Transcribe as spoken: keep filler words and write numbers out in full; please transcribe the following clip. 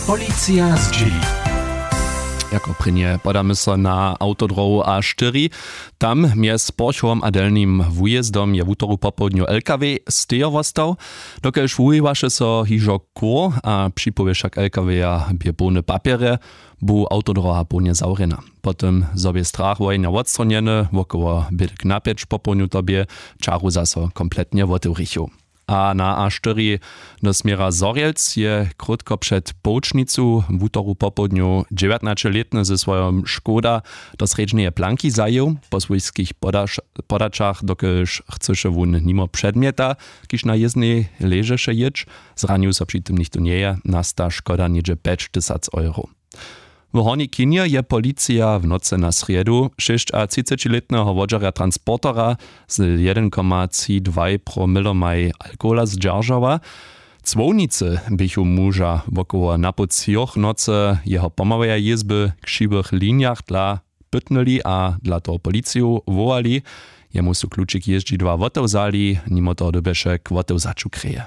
Policija zdźěli. Jako prěnje podamy so na awtodrohu a štyri. Tam mjez porchowom a delnim wujězdom je wutoru popołdnju lkw stejo wostał. Dokelž wuwiwaše so hižo kur a připowěšak lkw-ja bě połne papjerje, bu awtodroha połnje zawrjena. Po tym zo bě strach wojenja wotstronjeny, wokoło bědk napjeć popołdnju to bě, čaru zaso kompletnje wotewrichu. A na a štyri do směra zhorjelc je krótko před połčnicu wutoru popołdnju dźewjatnaćelětny ze swojom škoda do srjedźneje planki zajěł. Po swójskich podaćach dokelž chcyše wón nimo předmjeta, kiž na jěznej ležeše jěć, zranił so při tym nichtó njeje, nasta škoda něhdźe pjećtysac euro. W hornjej chinje je policija w nocy na srjedu šěsćatřicećilětneho wodźerja transportera z jedyn koma tři dwaj promilomaj alkohola zdźeržała. Cłownicy běchu muža wokoło napoł třoch nocy jeho pomałeje jězby w křiwych linjach dla pytnyli a dla toho policiju wowali. Jemu su klučik jězdźidła wotewzali, nimo toho dyrbješe k wotewzaću kreje.